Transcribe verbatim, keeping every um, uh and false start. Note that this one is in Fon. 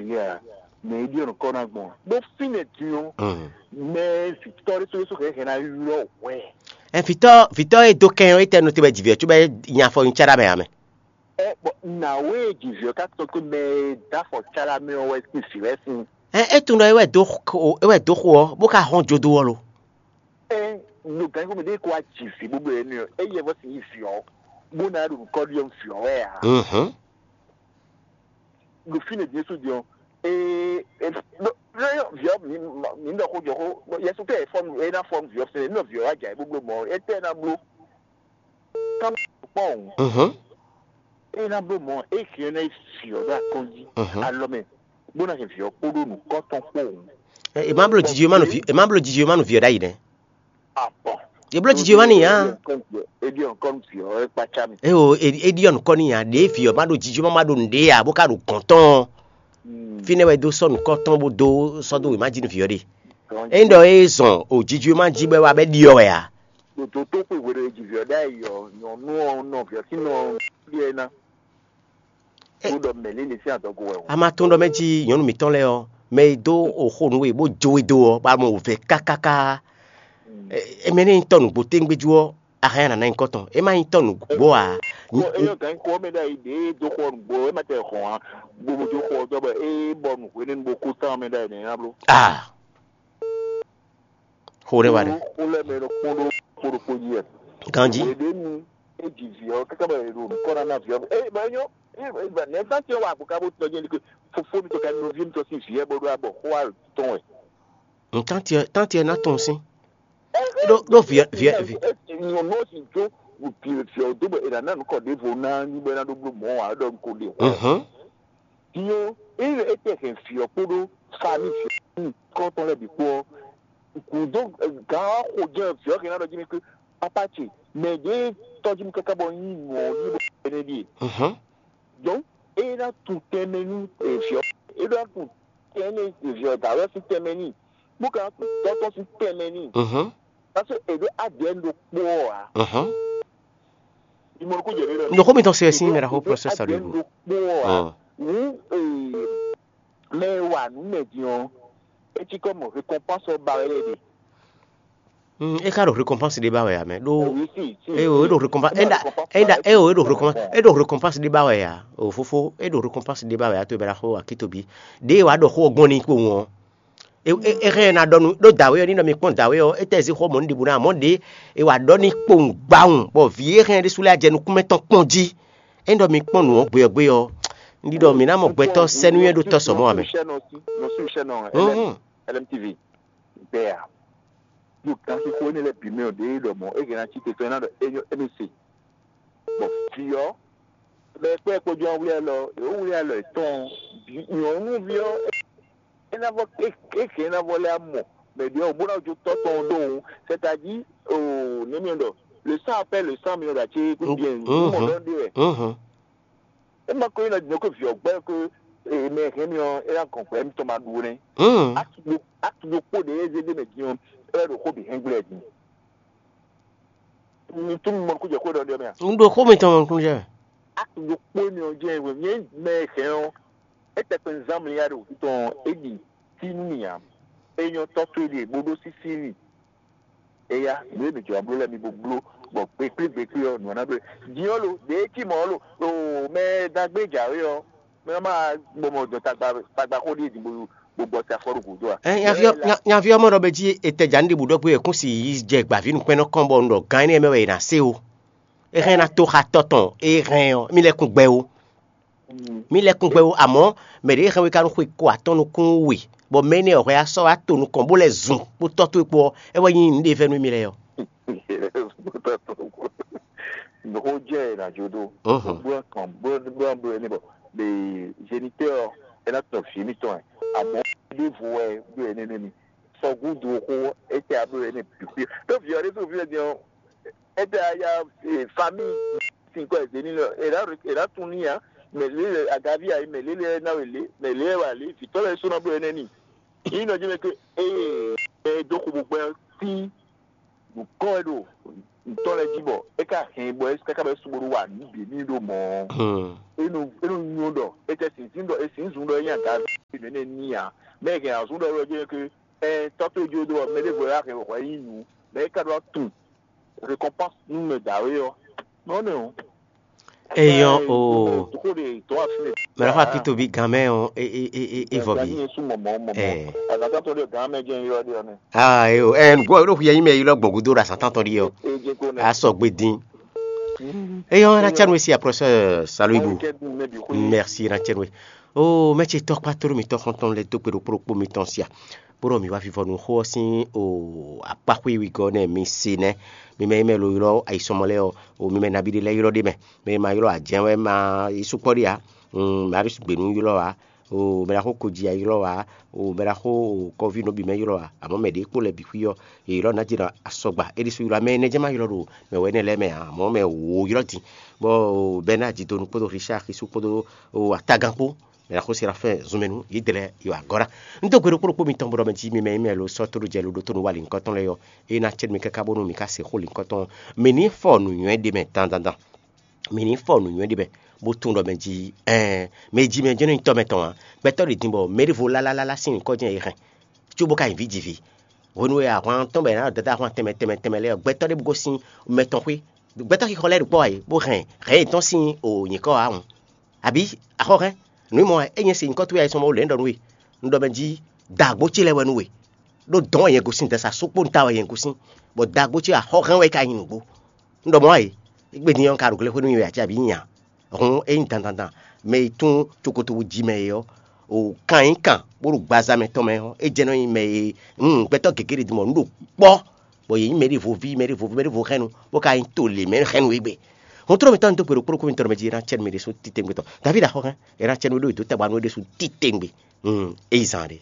Ya, mɛ e ɖiɔ nǔkɔ ná gbɔn ɖó fínɛ́ din ɔ́, mɛ tɔ́ ɖésú ɖésú hɛn hɛn ná ylɔ́ hwɛ. Ɛ, vitɔ vitɔ e do kɛn ɔ́, etɛ nɔ te wɛ jivɛ tso bɛ nya afɔ nyi cara mɛ amɛ. Ɛ, bɔ nǎwe e jivɛ ɔ́ ka tɔn kpé mɛ e dó afɔ cara mɛ ɔ́ wɛ sín vǐ wɛ sín. Ɛ, e tunɔ e wɛ do xo e wɛ do xo ɔ́, bó ka hɔn jodo ɔ́ lo. Ɛ, ɖo gǎn xó mɛ ɖé ko wá ji vǐ bó bló ɛnɛ ɔ́, é yɛ vɔ sín yi vǐ ɔ́, bó ná ɖo nǔkɔ ɖiɔ vǐ ɔ́ wɛ ǎ. Mhm. Ɖo fínɛ́ din sú din ɔ́, ee, vǐ ɔ́, mǐ ɖɔ xó jɔ xó, yɛsu tɛ fɔ́n é ná fɔ́n vǐ ɔ́ sɛnɛ, nɔ vǐ ɔ́ wá jɛ ayǐ bó bló mɔ̌, étɛ́ ná bló? Ká má kpɔ́n o. Mhm. É ná bló mɔ̌, é hɛn ná yi vǐ ɔ́ ɖó akɔ́n jí alɔ mɛ, bó ná hɛn vǐ ɔ́ kpódó nǔkɔ́tɔn kpó o. È má bló jiji ma nɔ vǐ è má bló jiji ma nɔ vǐ ɔ́ ɖ'ayǐ nɛ́. Abɔ. È bló jiji ma n'i ǎ. Eɖi ɔnkɔn vǐ ɔ́ é kpácá mi. Eo, è ɖi ɔnukɔ n'i ǎ, ɖě vǐ ɔ́ ma ɖo jiji ma ma ɖo nǔɖé ǎ, bó ka ɖo gɔ̌n tɔn. Fínɛ́ wɛ é dó sɔ́ nǔkɔ tɔn bó dó sɔ́ dó wěma jí nú vǐ ɔ́ ɖe. Ényí ɖɔ é zɔn o jiji ma jí bɔ é wá bɛ ɖiɔ wɛ ǎ. Ɖo dó tó xwe hwenu e ji vǐ ɔ́ ɖ'ayǐ ɔ́, nyɔ̌nu ɔ́ nɔ vǐ ɔ́ sín nɔ ɖiɛ ná. Bó ɖɔ mɛ̌ lé lě sín adɔgo wɛ o. A ma tunwun ɖɔ mɛ jí nyɔ̌nu mǐtɔn lɛ́ɛ ɔ́, mɛ e dó oxo nú we bó jó we dó ɔ́, bá mɔ wǔvɛ́ kákáká. Ɛ, mɛ nɛ́ nyí tɔ́ nǔgbó téŋgbéjú ɔ́, a hɛn nǎ ná nyí kɔ́tɔn. É má nyí tɔ́ nǔgbó ǎ. Ko é nyɔ́ gǎn kó ɔ́ mɛ ɖ'ayǐ ɖě é dó xɔ nǔgbó é má tɛ hɔn ǎ. Gbogbo jó xɔ ɔ́ dɔ́ bɔ é bɔ nǔ hwenɛ́nu bó kú tán mɛ ɖ'ayǐ nɛ́ ná bló. Ah. Xo ɖé wa ɖe. Xó lɛ́ mɛ ɖokpó ɖó kpó ɖokpó jí wɛ. Ganjí. Hweɖénu é ji vǐ ɔ́ káká bɔ è ɖo nǔkɔ ná ná vǐ ɔ́. É bɔ é nyɔ́. Nɛ̌ zán ce wá àgbo ká bó tɔ́ jẹ́ ní pé fofó mitɔn ka nɔví mitɔn sín vǐ ɛ bó ɖó abɔ xó wá tɔn wɛ. Tánti ɛ tánti ɛ ná tunwun sín. Ɖó ɖó vǐ vǐ vǐ. Nyɔ̌nu ɔ́ sin jó vǐ ɔ́ dó bɔ è nǎ ná nǔkɔ ɖěvo ná ní bɔ é ná ɖó bló mɔ̌ ǎ ɖɔ un ko ɖe xó. Mhm. Din ɔ́, ényí é tɛ hɛn vǐ ɔ́ kpódó famí vǐ ɔ́ kɔ́ tɔn lɛ́ɛ bǐ kpó ɔ́, gǔdo gǎn ɔ́ xo jɛ́n vǐ ɔ́ hɛn ná ɖɔ jí mì pé papa ce, mɛ ɖě tɔ́ jí mì káká bɔ nyí nǔ ɔ́ ní bɔ énɛ́ ɖíe. Mhm. Donc, é ná tu tɛnmɛ nú vǐ ɔ́, é ná tu tɛnmɛ vǐ ɔ́ dǎwe ɔ́ sín tɛnmɛ n'i, bó ka ná tu tɔ́ tɔn sín tɛnmɛ n'i. Mhm. Parce que è ɖó A D N ɖokpó ɔ́ ǎ. Mhm. Ìmọ̀ kó jɛ ɖé lɔ. Ndoxó mitɔn se sin mɛ ɖaxó process ɔ́ ɖo. Ɖokpó ɔ́ ǎ. Hǔn mɛ e wa nǔ mɛ din ɔ́, é cí kɔ mɔ récompense ɔ́ ba wɛ lɛ́ɛ ɖe. Mm, é ka ɖo récompense ɖé ba wɛ ame ɖó. Oui, si, si, é o é ɖo récompense é ɖa é ɖa é o é ɖo récompense é ɖo récompense ɖé ba wɛ ya o fofo é ɖo récompense ɖé ba wɛ ya to bɛ ɖaxó akitobi ɖé wa ɖɔ xó gbɔn ní kpowun ɔ́. É hɛn ná ɖɔ nú ɖó dǎwe ɔ́ ní ɖɔ mi kpɔ́n dǎwe ɔ́, é tɛ zí xó mɔ̌ ní ɖěbǔ ná mɔ̌ ɖě è wǎ ɖɔ ní kpowun gbawun bɔ vǐ e hɛn ɖésú lɛ́ɛ jɛ nukúnmɛ tɔn kpɔ́n jí. Ényí ɖɔ mi kpɔ́n nǔ ɔ́ gbe ɔ́ gbe ɔ́, un ɖi ɖɔ mǐ ná mɔ gbɛtɔ́ sɛ́núnywɛ́ ɖó tɔ́ sɔmɔ́ ǎ mɛ. Nɔ sí iṣẹ́ náà, Húnhún. L M T V, bẹ́ẹ̀ à. Yóò gán xixo énɛ́ lɛ́ɛ bǐ mɛ ɔ́ ɖě ɖɔ mɔ̌ é hɛn ná cí te tɔn ná ɖɔ é nyɔ́ émí se. Bɔ vǐ ɔ́, mɛ kpɛ́ kpó jɔ́n wlí alɔ, yǒ wlí alɔ yětɔn, nyɔ̌nuví ɔ́, é ná vɔ é hɛn é ná vɔ lɛ́ amɔ mɛ ɖě ɔ́ bó ná jó tɔ́ tɔn ɖó òun, c'est-à-dire, nɛ̌ mi ɖɔ, le sang appelle le sang, mi ɖɔ ati kú bien mɔ ɖɔ ɖe wɛ. É ma ko nyí nɔ ko vǐ ɔ́ gbɛ́ ko mɛ hɛn mi ɔ́, é ná gɔn gbɛ mitɔn ma ɖu nɛ́. Atu ɖokpó ɖě é zé ɖ'é mɛ din ɔ́, é wɛ ɖo xó bǐ hɛn gblɛ din. Mi tún mi mɔ nukúnjɛ xó ɖɔ ɖɔ mɛ a? Un ɖo xó mitɔn mɔ nukúnjɛ. Atu ɖokpó énɛ́ ɔ́ jẹ́ nyɛ mɛ hɛn ɔ́, é tɛkpɛ zán mlí ya ɖo tɔn é ɖi tí nú mì ǎ. É nyɔ́ tɔ́ tó ɖe bó ɖó sísí mì. Eya, nǔ e mǐ jɔ bló lɛ́ɛ mi bo bló, bɔ gbekplé gbekplé ɔ́, nǔ ɔ́ ná bló. Din ɔ́ lo, ɖě é cí mɔ̌ lo, o mɛ dagbe jǎwe ɔ́, mɛ ɔ́ ma gbɔmɔ dɔn tagba tagba xó ɖíe din bó bó gbɔ ta fɔ ɖo gǔdo a? Ɛ nyaví ɔ́ nya- nyaví ɔ́ mɔ ɖɔ bɛ jí etɛjǎnu ɖěbǔ ɖɔ gbé wɛ kún si yi jɛ gbǎví nukpɛ́nnɔ kɔn bɔ un ɖɔ gán énɛ́ mɛ wɛ è nǎ se o. É hɛn ná tó xa tɔ́ tɔn é hɛn ɔ́, mí lɛ́ kún gbɛ ó. Mí lɛ́ kún gbɛ ó, amɔ̌ mɛ ɖě hɛn we ka nú xwe ko atɔ́ nukún we, bɔ mɛ énɛ́ ɔ́ hwɛ á sɔ́ wá to nukɔn bó lɛ́ zun kpó tɔ́ towe kpó ɔ́, é wɛ nyí nǔɖévɛ́nú émí lɛ́ɛ ɔ́. Nǔxó jɛ è nǎ jó ɖó. Bó ná kàn bó ná bó ná bló ɛnɛ bɔ le géniteur ɔ́ é ná tɔn vǐ émítɔn ɛ, amɔ̌ ɖěvo wɛ bló ɛnɛ nɛ́ mi. Sɔgúdu xó étɛ́ abló ɛnɛ bǐ xwí ɖó vǐ ɔ́ ɖésú vǐ ɔ́ din ɔ́, étɛ́ aya famille sin kɔ ɛzě ní lɔ è nǎ è nǎ tún ní ǎ. Mɛ lě lɛ agaví ayi mɛ lě lɛ ná wɛ lě mɛ lě wɛ alě vǐtɔ́ lɛ́ɛ sɔ́ ná bló ɛnɛ n'i. Yín nɔ jí mɛ ke ée mɛ e dó xo bó gbɛ́ tín nǔkɔn wɛ ɖo ntɔ́ lɛ́ɛ jí bɔ é ka hɛn bɔ é káká bɔ é sugbó ɖó wa nǔ bǐ ní ɖo mɔ̌. É nɔ é nɔ nyo ɖɔ é tɛ sǐnzín ɖɔ é sǐnzún ɖɔ é nyí agaví. Mɛ ne ní ǎ. Mɛ e hɛn azɔn ɖɔ wɛ jɛ́n ke ɛ tɔ́ tó jó dó ɔ́, mɛ ɖěvo wɛ hɛn hwɛ nyi nǔ, mɛ e ka ɖó tunwun récompense nú mɛ dǎwe ɔ́. Nɔ nɛ o. Eyɔn o. Xó ɖe tɔ́ afi nɛ. Mɛ ɖaxó akitobi gan mɛ ɔ́, e e e e e vɔ bi. Gani yẹn sún mɔmɔ mɔmɔ. Ɛ. Azǎn tɔn ɖe gan mɛ jẹ́ yɔ ɖe ɔnɛ. Aa e o ɛ nugbo ɖo xuyɛ yi mɛ yi lɔ gbɔn gudo ɖo azǎn tɔn ɖi ɔ. E jẹ ko nɛ. A sɔ gbe din. Eyɔn na cɛ nu esi aprɔsɛ salu ibu. Merci na cɛ nu. O mɛ ce tɔkpa to mi tɔ xɔntɔn lɛ do gbe ɖo kplokpo mi tɔn sia. Bó ɖɔ mi wá vivɔ nú xó ɔ́ sín o akpáxwé wigɔ́ nɛ mi se nɛ́. Mi mɛ yi mɛ lo ylɔ́ ayisɔmɔ lɛ́ɛ ɔ́, o mi mɛ nabí ɖé lɛ́ɛ ylɔ́ ɖé mɛ. Mɛ e ma ylɔ́ ǎ jɛ́n wɛ ma yi sukpɔ́ ɖé ǎ. Mɛ aɖé sugbe nú ylɔ́ ǎ. O mɛ ɖaxó koji a ylɔ́ ǎ. O mɛ ɖaxó kɔví nɔ bǐ mɛ ylɔ́ ǎ. Amɔ̌ mɛ ɖě kpo lɛ́ɛ bǐ xwí ɔ́, yě ylɔ́ ná jɛ ɖɔ asɔgba. É ɖésú ylɔ́ mɛ énɛ́ jɛ́n ma ylɔ́ ɖo mɛ wɛ énɛ́ lɛ́ɛ mɛ ǎ. Amɔ̌ mɛ wǒ ylɔ́ din. Bɔ Bɛnádi donu kpódó Richard Xisú kpódó o Atágan kpó. Mɛ ɖaxó Serafin zunmɛnu yědɛɛ lɛ́ɛ yi wa agɔ̌ ná. Un dó gbe ɖokpó ɖokpó mitɔn bó ɖɔ mɛ jí mi mɛ nyí mɛ lo sɔ́ tóɖó jɛ lo ɖótó nú wa lǐnkɔ́tɔn lɛ́ɛ ɔ́, é ná cɛ́ nú mi káká bónú mi ká se xó lǐnkɔ́tɔn ɔ́. Mi ní fɔ nǔnywɛ́ ɖé mɛ dandandan. Mi ní fɔ nǔnywɛ́ ɖé mɛ, bó tunwun ɖɔ mɛ jí ɛɛn mɛ jí mɛ jɛ́n nɔ nyí tɔ́ mɛtɔn ǎ. Gbɛtɔ́ ɖě din bɔ mɛ ɖěvo lálálálá sín nyǐkɔ jɛ́n è hɛn, có bó ka nyi vǐ ji vǐ. Hwenu e ahwan tɔn bɔ è nǎ ɖɔ dada ahwan tɛnmɛ tɛnmɛ tɛnmɛ lɛ́ɛ ɔ́, gbɛtɔ́ ɖěbǔ gosín mɛ tɔn xwé. Gbɛtɔ́ xixɔ lɛ́ɛ ɖo kpɔ́ ǎ é, bó hɛn hɛ̌n yětɔn sín o nyǐkɔ ǎ hǔn. Abǐ axɔ́ hɛn nǔ mɔ wɛ é nyɛ se nyǐkɔ towe ayisɔn mɔ wú lě un ɖɔ nú we. Un ɖɔ mɛ jí dǎgbó ce lɛ́ɛ wɛ nú we. Ɖó dɔ̌n wɛ nyɛ gosín dɛ̌sa sukpó ta wɛ nyɛ gosín, bɔ dǎgbó ce axɔ́ hɛn wɛ é ka nyí nǔgbó. Un ɖɔ mɔ̌ wɛ é gbe din ɔ́ ka ɖo glexwé nú mi wɛ ǎ cé abǐ nyi ǎ? Hǔn é nyí dandandan, mɛ e tún cokotowu jí mɛ é ɔ́, o kan nyí kan bó ɖo gbaza mɛ tɔn mɛ ɔ́, é jɛ nɔ nyi mɛ e un gbɛtɔ́ gěgé ɖe din mɔ nǔ ɖo kpɔ́, bɔ yě nyí mɛɖěvo ví, mɛɖěvo ví, mɛɖěvo hɛnnu, bó ka nyí to lě mɛ hɛnnu égbé. Hun tlɔ́ mǐtɔn ní dó gbe ɖokpó ɖokpó mitɔn mɛ jí é ná cɛ nú mɛ ɖésú titewungbe tɔn. Davídi axɔ́ hɛn, é ná cɛ nú we ɖó è dǒ tɛgbɛ nú we ɖésú titewungbe. Un, é yi zan ɖe.